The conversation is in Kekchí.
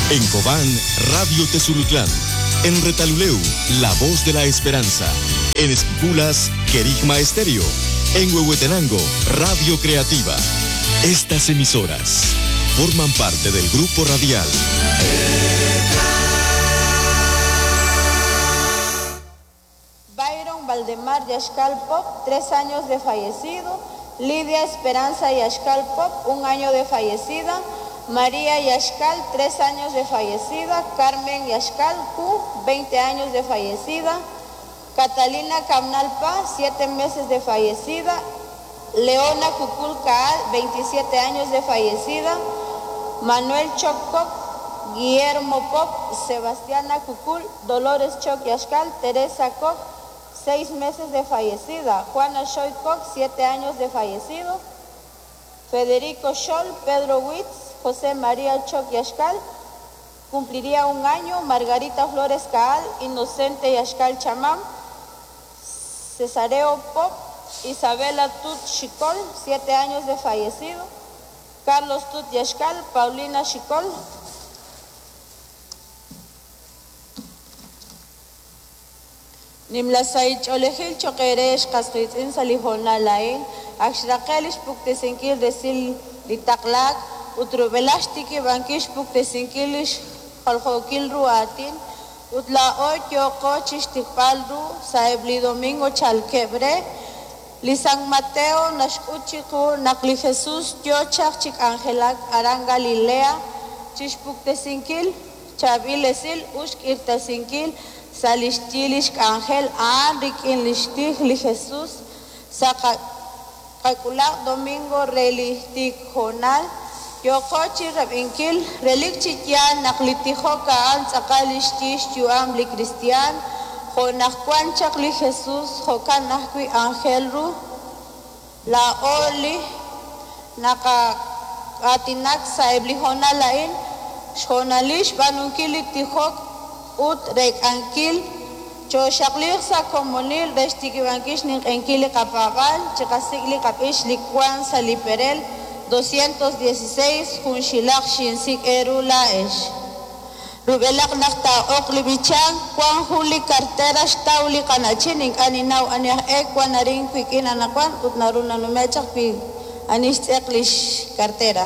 En Cobán, Radio Tezulutlán. En Retaluleu, La Voz de la Esperanza. En Esquipulas, Querigma Estéreo. En Huehuetenango, Radio Creativa. Estas emisoras forman parte del grupo radial. Byron Valdemar Yaxcal Pop, 3 años de fallecido. Lidia Esperanza Yaxcal Pop, 1 año de fallecida. María Yaxcal, 3 años de fallecida. Carmen Yaxcal Q, 20 años de fallecida. Catalina Camnal Paz, 7 meses de fallecida. Leona Cucul Caal, 27 años de fallecida. Manuel Choc Pop, Guillermo Pop, Sebastiana Cucul, Dolores Choc Yaxcal, Teresa Koch, 6 meses de fallecida. Juana Choy Koch, 7 años de fallecido. Federico Scholl, Pedro Witz, José María Choc Yaxcal, cumpliría 1 año. Margarita Flores Caal, Inocente Yaxcal Chamán, Cesareo Pop, Isabela Tut Xicol, 7 años de fallecido. Carlos Tut Yaxcal, Paulina Xicol. Nimla sahil ch'oolejil choq eere xqas qiitz'in sa' li hoonal a'in, ak xraqe' li xpuktesinkil resil li taqlaak ut rub'elaj xtikib'ankil xpuktesinkil li xjaljookil ru aatin, ut laa'o yooqo chixtiqb'al ru sa'eb' li domingo chalkeb' re. Li San Mateo naxk'ut chiqu naq li Jesus yoo chaq chi k'anjelak aran Galilea chixpuktesinkil chaab'il esil ut xk'irtasinkil sa' lix yi lix k'anjel a'an rik'in lix tij li Jesus sa' qak'ulaq domingo re li tiik hoonal yooqo chi rab'inkil relik chi yaal naq li tijok a'an tz'aqal lix yi xyu'am li kristiaan, jo' naq wan chaq li Jesus jo'kan ajwi' aajel ru laa'o li naqa'aatinak sa'eb' li hoonal a'in, xhoonalil xb'aanunkil li tijok ut reek'ankil chooxaqliiq sa' komonil re xtikib'ankil xninq'ehinkil li qapaab'aal, chiqasik' li qab'ix li wan sa' li perel 216 junxilaq xinsik' eeru laa'ex. Rub'elaq naq taa'oq li b'ichank, wan jun li kartera xtaw li qana'chin ink'a' ninnaw ani aj e wan arin wik'in anaqwan ut naru nanume' chaq wi ani xtz'eq lix kartera.